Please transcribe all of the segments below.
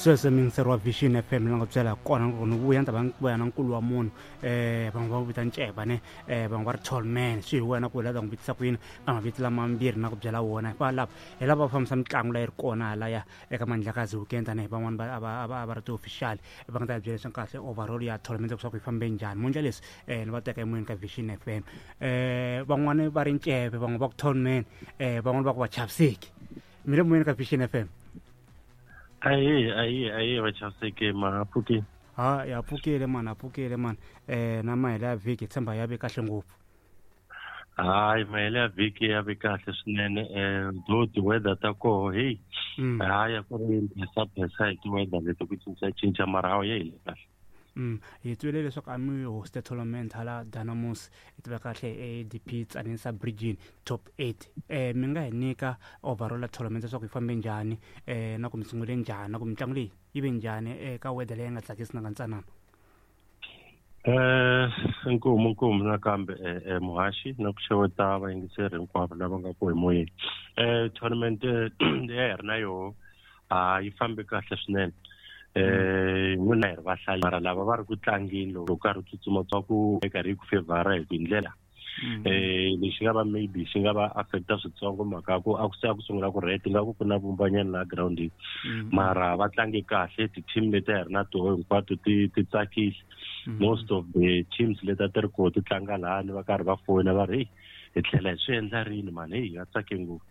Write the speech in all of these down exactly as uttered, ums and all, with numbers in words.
Sweswo muyingiseri wa Vision F M ni nga byela kona ku ni vuya ni ta va ni vuya na nkulu wa munhu, um van'we va vita Nceba ne, um van'we va ri Tallman. Swi hi wena ku hi la ta n'wi vitisa ku yini ka mavito lamambirhi na ku byela wona. Va lava hi lava va fambisa mitlangu leyi ri kona halaya eka Mandlakazi Weekend, tanihi van'wani va a va a va a va ri ti-official va nga ta hi byela leswi kahle overall ya tournament leswaku yi fambe njhani. Mondla leswi um ni va teka emoyeni ka Vision F M, um van'wani va ri Ncebe, van'we va ku Tallman, um van'wani va ku va chaviseki. Mi le moyeni ka Vision F M. Ayi, ayi, ayi, vachaviseki, ma pfukile? Ha, ya pfukile mani, a pfukile mani. um na mahelo ya vhiki hi tshemba ya ve kahle ngopfu. Hayi, mahelo ya vhiki ya ve kahle swinene, um though ti-weather ta koho, heyi, Mm. hayi, a ku ri phesa hi ti-weather leti ku cincacinca, mara hawa ya hile kahle. Mm. hi twile leswaku a mi hoste tournament hala Dynamos, hi tiva kahle A D P Tzaneen Sub-Region top eight. eh mi nga hi nyika overall ya tournament leswaku yi fambe njhani, eh na ku mi sungule njhani, na ku mitlangu leyi yi ve njhani eka weather leyi nga tsakisi na ntsanana? Eh inkomu inkomu nakambe, eh, eh, muhaxi, na ku xeweta vayingiseri hinkwavo lava nga ku emoyeni. eh tournament leyi a hi ri na yoho a yi fambe kahle swinene. eh n'wina hi ri vahlayi, mara lava va ri ku tlangeni loko karhi u tsutsuma twa ku karhi yi ku fevhara hi ndlela eh lexi nga va maybe xi nga va affecta switsongo, mhaka ku a ku se a ku sungula ku ret nga ku ku na vumbanyana laha groundini, mara va tlange kahle. Ti-team leti a hi ri na toho hinkwato ti ti tsakile. Most of the teams leti a ti ri koho ti tlanga lahani va karhi va foyina va ri, "Hey, hi tlhela hi swi endla rini mani?" Heyi, va tsake ngopfu.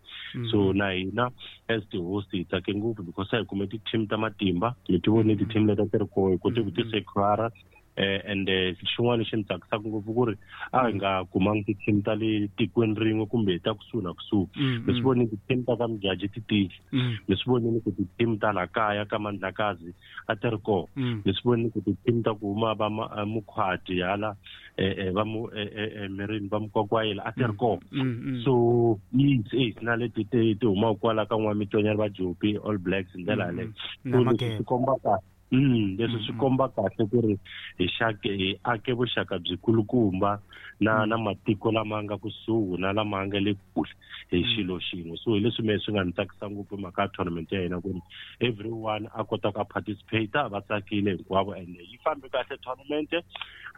So na hina as ti-host hi tsake ngopfu because a hi kume ti-team ta matimba. Mi ti vone ti-team leti a ti ri koho, hi kote ku ti secure. eh and xin'wana lexi ni tsakisaka ngopfu ku ri a hi nga kumangi ti-team ta le tikweni rin'we kumbe ta kusuhi na kusuhi. Mi swi vonile ti-team ta ka Mujaji ti tile, mi swi vonile ku ti-team ta la kaya ka Mandlakazi a ti ri kona, mi swi vonile ku ti-team ta ku huma va Mukhwati hala, eh va mu mirini va Mukwakwayela a ti ri kona. So yes yes na leti ti ti humaka kwala ka N'wamitonyana, va Jopi All Blacks hi ndlela yaleyo. So leswi swi komba kahle mm leswi swi komba kahle ku ri hi xake hi ake vuxaka byikulukumba na na matiko lama nga kusuhi na lama nga le kule hi xilo xin'we. So hi leswi mehe swi nga ni tsakisa ngopfu mhaka ya tournament ya hina, ku ri everyone a kota ku a participate, va tsakile hinkwavo and yi fambe kahle tournament.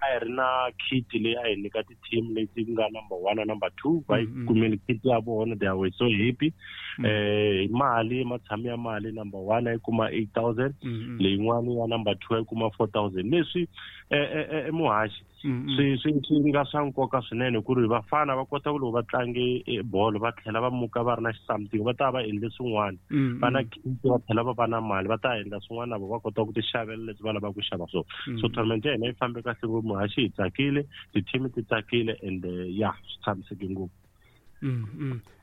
A hi ri na kit leyi a hi nyika ti-team leti nga number one na number two, va yi kumile kit ya vona, they were so happy. eh hi mali, matshamo ya mali, number one a yi kuma eight thousand, leyin'wani ya number two a yi kuma four thousand. Leswi eh muhaxi swi swi swi nga swa nkoka swinene ku ri vafana va kota ku loko va tlange bolo va tlhela va muka va ri na something, va ta va endle swin'wana, va na kit, va tlhela va va na mali, va ta endla swin'wana na vo, va kota ku ti xavela leswi va lavaka ku xava swona. So tournament ya hina yi fambe kahle ngopfu, muhaxi, hi tsakile, ti-team ti tsakile and ya swi tshamiseke ngopfu.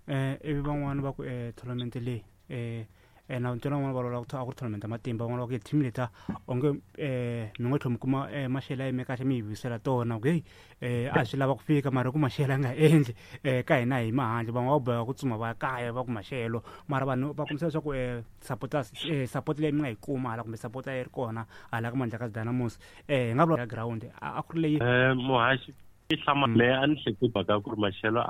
eh ivi van'wani va ku eh tournament leyi, eh eh na ntwana van'wana va vulavula ku a ku ri tournament ya matimba, van'wana va ku team leta onge eh mi ngo tlhela mi kuma eh maxelo ya yime kahle mi yi vuyisela tona, ku hey, eh a swi lava ku fika mara ku maxelo ya nga endli eh ka hina hi mahandle, van'wana va boheka ku tsuma va ya kaya va ku maxelo. Mara vanhu va kombisa leswaku eh supporters, eh support leyi mi nga yi kuma hala kumbe support yi ri kona hala ka Mandlakazi Dynamos, eh hi nga vula ya ground a ku ri leyi. eh muhaxi, yi hlama mehe a ni hleketi mhaka ku ri maxelo.